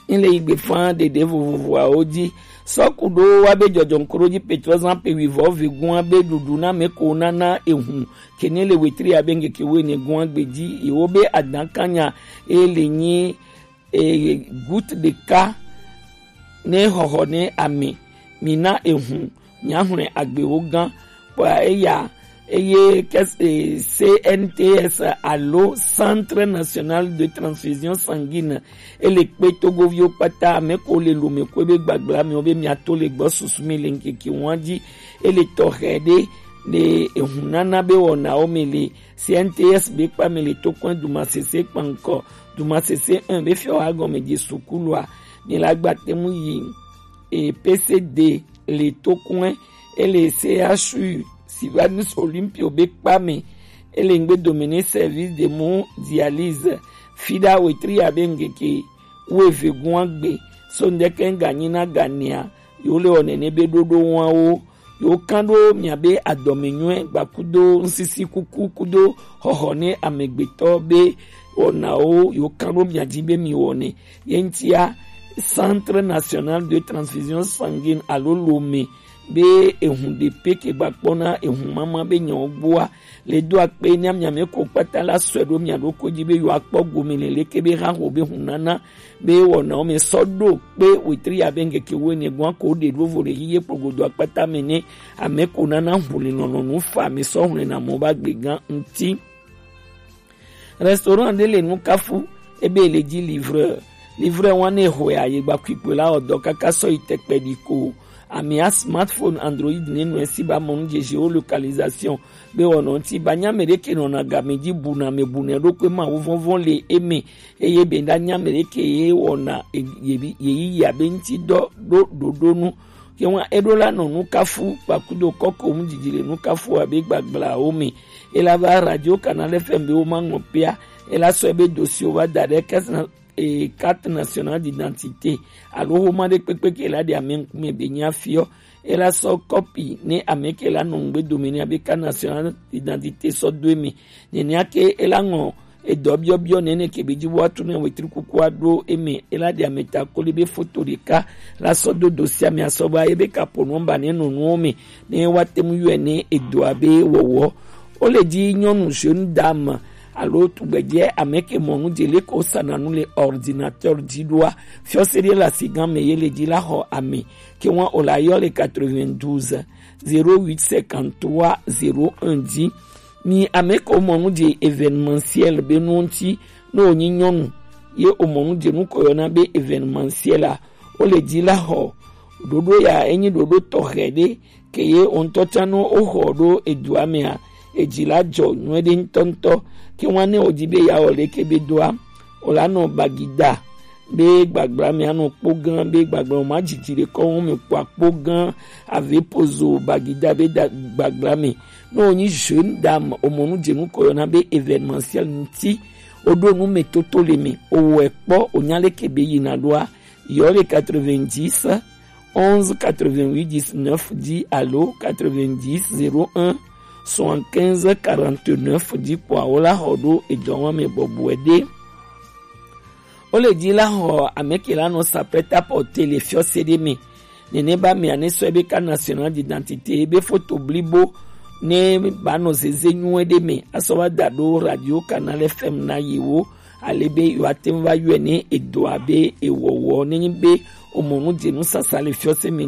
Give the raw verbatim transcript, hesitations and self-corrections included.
N le yi gbe fã ɖeɖe vovovoawo ji. Sɔku ɖo wa be jɔjɔŋkroji Petrɔ zan pe wivɔ vegun wa be ɖuɖu na mɛ ko nana ehun kene le wetri abe ŋkeke wene gun agbe ji. Yewo be adan kanya e le nyi e goutte de ka ne xɔxɔ ne ame. Mi na ehun miaxlẽ agbewo gã. Kpɔa eya eye kes- e, C N T S alo Centre National de Transfusion Sanguine ele kpe togoviwo kpata ame ko le lome ko be gbagblã miwo be miato le gbɔ susu mi le ŋkeke ŋua ji. Ele tɔxɛ ɖe le ehunana be wɔnawo me le C N T S be kpa me le tokɔn dumasese kpankɔ dumasese un be fiɔ wa gɔme je sukulua. Mi la gba temu yi e P C D le tokɔn ele C H U Sylvanus Olympio be kpa me. Ele ŋgbe domine service de mu dialyse fida wetri abe ŋgeke wueve gua gbe. So ŋdeke ganyi na ganea yo le wɔ nene be ɖoɖo wawo yo kan ɖo miabe adɔme nyuɛ gba kudo ŋsisi kuku kudo xɔxɔ ne amegbetɔ be wɔnawo yo kan ɖo mia ji be mi wɔne. Ye ŋtia Centre National de Transfusion Sanguine alo lome be ehun ɖe pe ke gba kpɔna ehun mama be nyawo gbɔa le do akpe ne miame ko kpata la sɔe ɖo mia ɖo ko ji be yo akpɔ gome le leke be ha ho be hun nana be wɔnawo me sɔ ɖo kpe wetri abe ŋkeke wene gua ko ɖe ɖo vo le yiye kplogodo akpata me ne ame ko nana hun le nɔnɔ nu fa me sɔ hun le na mo ba gbe gan ŋti. Restaurant ɖe le nu kafu ebe le ji livreur. Livreur wa ne hoe aye gba kpikpe la ɔdɔ kaka sɔ yi tekpe ɖi ko. Amia smartphone Android ne nu esi ba mɔnu je géolocalisation be wɔnɔ ŋti ba nya me ɖe ke nɔna game ji buna me buna ɖo kpe ma wo vɔnvɔn le eme. Eye be da nya me ɖe ke ye wɔna ye yi ya be ŋti dɔ ɖo ɖoɖo nu. Ke wa eɖo la nɔ nu kafu kpakudo kɔko mu didi le nu kafu abe gbagblãwo me. Ela va radio Canal F M be wo ma ŋɔ pea. Ela sɔ ebe dossier wo va da ɖe carte na- e carte nationale d'identité alo xoma ɖe kpekpe ke la ɖe ame ŋkume be nya fiɔ. Ela sɔ kɔpi ne ame ke la nɔ ŋgbe dome ne abe carte nationale d'identité sɔ do eme. Nenia ke ela ŋɔ edɔ biɔbiɔ nene ke be ji wa tu ne wetri kuku aɖo eme ela ɖe ame ta koli be foto ɖeka la sɔ do dossier ame asɔ ba ebe kapo nɔmba ne nɔ nuwo me ne wa te mu yɔe ne edɔ abe wɔwɔ. Wo le ji nyɔnu jeune dame alo tugbedze ame ke mɔnu dze le ko sana nu le ordinateur dzi ɖoa. Fiɔse ɖe le asigan me ye le dzi la xɔ ame ke wa o la yɔ le quatre-vingt-douze zéro huit cinquante-trois zéro un dzi. Mi ame ko mɔnu dze événementiel be nu ŋti ne wonyi nyɔnu ye o mɔnu dze nu ko yɔna be événementiel a wo le dzi la xɔ ɖoɖo ya enyi ɖoɖo tɔxɛ ɖe ke ye o ŋutɔ tsã ne woxɔ ɖo edua mea, edzi la dzɔ nyuie ɖe ŋutɔŋutɔ. Ke wa ne wòdi be yeawɔ leke be doa, wòla nɔ bagida be gbagblã me anɔ kpo gã be gbagblã ma dzidzi ɖe kɔ wo me kpɔ akpo gã ave pozo bagida be da gbagblã me. Ne wònyi jeune dame, wòmɔ nu dze nu ko yɔna be événementiel ŋuti, wòɖo nu me toto le me, wòwɔe kpɔ, wònya leke be yina ɖoa, yɔ le quatre-vingt-dix onze quatre-vingt-huit dix-neuf dzi alo quatre-vingt-dix zéro un soixante-quinze quarante-neuf dzi kpɔa wo la xɔ ɖo edɔwɔme bɔbɔe ɖe. Wo le dzi la xɔ ame ke la nɔ sa prêt-à-porter le fiɔse ɖe me. Nene ba mea ne sɔ ebe carte nationale d'identité ebe foto blibo ne ba nɔ zeze nyuie ɖe me asɔ va da ɖo radio Canal F M na yewo ale be yewoate ŋu va yɔe ne edɔa be ewɔwɔ ne nyi be womɔ nu dze nu sasa le fiɔse me